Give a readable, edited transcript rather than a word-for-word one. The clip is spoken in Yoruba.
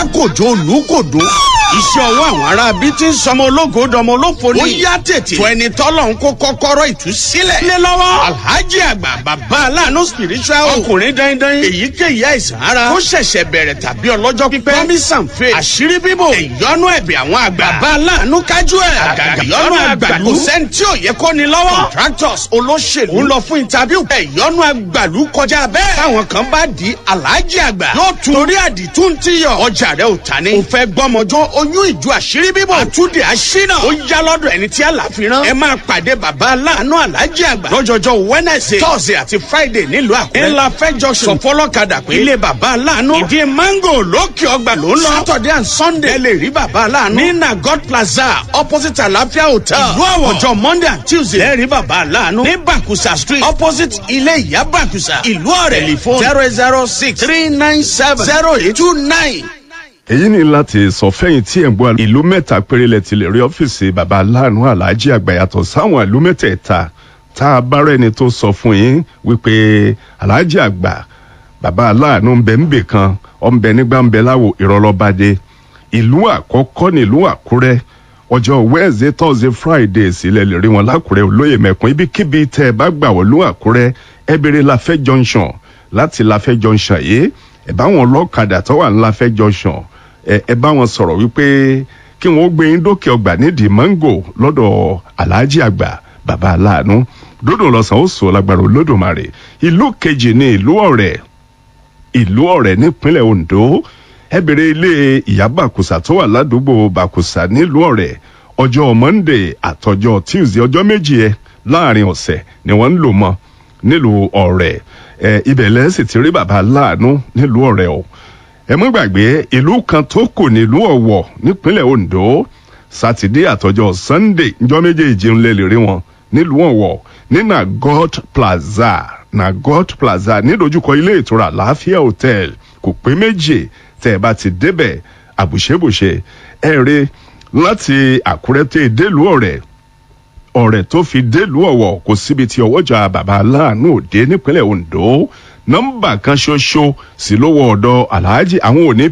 Tákòjó olùkòdó. Iṣẹ́ ọwọ́ àwọn ará bíi ti ń sọmọ ológo dọmọ olófo ni. Ó yá tètè. Tó ẹni tọ́lọ̀ ń kó kọ́kọ́rọ́ ìtúsílẹ̀. Lé lọ́wọ́. Alhaji àgbà bàbá aláàánú spiritual. Ọkùnrin dandan. Èyíkéyìí àìsàn ara. Ó ṣẹ̀ṣẹ̀ bẹ̀rẹ̀ tàbí ọlọ́jọ́ pípẹ́. Promise and faith. Àṣírí bíbò. Ìyọnu ẹ̀bẹ̀ àwọn àgbà. Bàbá aláàánú kájú ẹ̀. Àgàgà ìyọnu àgbàlú. Kò sẹ́ni tí ò yẹ kó ni lọ́wọ́. Contractors olóṣèlú. Ń lọ fún interview. Ìyọnu àgbàlú kọjá bẹ́ẹ̀. Táwọn kan bá di Alhaji àgbà. Yóò tún torí àdìtú ń tíyọ̀. Ọjà rẹ̀ ò ta ni. Ò fẹ́ gbọ́mọjọ́ oyún ìjọ àṣírí bíbọ̀. Àtúndì àṣínà. Ó yá lọ́dọ̀ ẹni tí àlàfi rán. Ẹ máa pàdé bàbá aláàánú Alhaji àgbà. Lọ́jọ́jọ́ Wednesday, Thursday àti Friday nílùú Àkúrẹ́. Ńlá fẹ́ junction. Sọ fọlọ́kadà pé. Ilé bàbá aláàánú. Ìdí mango lókè ọgbà ló ń lọ. Saturday and Sunday. Ẹ lè rí bàbá aláàánú. Ní Nagot Plaza opposite Àlàáfíà Hotel. Ìlú Àwọ̀. Ọjọ́ Monday and Tuesday. Ẹ rí bàbá aláàánú. Ní Bàkùsà Street opposite ilé ìyá Bàkùsà. Ìlú Ọ̀rẹ́. Tẹlifóònù 006 397 0829. Èyí ni láti sọ fẹ́yìn tí ẹ̀ ń gbọ́, ìlú mẹ́ta péré lẹ ti lè rí ọ́fíìsì bàbá aláàánú aláàjì àgbà, yàtọ̀ sáwọn ìlú mẹ́tẹ̀ẹ̀ta tá a bá rẹ́ni tó sọ fún yín wípé aláàjì àgbà bàbá aláàánú ń bẹ ń bè kan, ọ̀ ń bẹ nígbà ń bẹ láwo ìrọ̀lọ́badé. Ìlú àkọ́kọ́ nílùú Àkúrẹ́. Ọjọ́ Wednesday, Thursday, Friday sílẹ̀ lè rí wọn lákùrẹ́ olóyè mẹ́kún. Ibikíbi tẹ́ ẹ bá gbà wọ́n lú Àkúrẹ́, ẹ bèrè Láfẹ́ Junction. Láti Láfẹ́ Junction yìí, ẹ bá wọn lọ́kadà tó wà ní Láfẹ́ Junction, ẹ bá wọn sọ̀rọ̀ wípé kí wọ́n gbé yín dókè ọgbà nídìí mango lọ́dọ̀ aláàjì àgbà bàbá aláàánú. Dódò lọ́sàn ó sọ lágbára Olódùmarè. Ìlú kejì ní ìlú Ọ̀rẹ́. Ìlú Ọ̀rẹ́ nípínlẹ̀ Ondo. Ẹ bèrè ilé ìyá Bàkùsà tó wà ládùúgbò Bàkùsà nílùú Ọ̀rẹ́. Ọjọ́ Monday àtọjọ́ Tuesday, ọjọ́ 2 ẹ láàrin ọ̀sẹ̀ ni wọ́n ń lò mọ́ nílùú Ọ̀rẹ́. Ẹ ibẹ̀ lẹ́sìn ti rí bàbá aláàánú nílùú Ọ̀rẹ́ o. Ẹ mọ́ gbàgbé ìlú kan tó kù nílùú Ọ̀wọ̀ nípínlẹ̀ Ondo. Sátidé àtọjọ́ Sunday, njọ́ méjèèjì ń lè rí wọn nílùú Ọ̀wọ̀ ní Nagot Plaza. Nagot Plaza nídojúkọ ilé ìtura Àlàáfíà Hotel, kò pé méjì tẹ́ ẹ bá ti débẹ̀ àbùṣebùṣe. Ẹ rí láti Àkúrẹ́ tẹ́ délùú Ọ̀rẹ́, Ọ̀rẹ́ tó fi délùú Ọ̀wọ̀, kò síbi tí ọwọ́jà bàbá aláàánú òde nípínlẹ̀ Ondo. Nọ́mbà kan ṣoṣo sì lówó ọ̀dọ̀ aláàjì àwọn òní.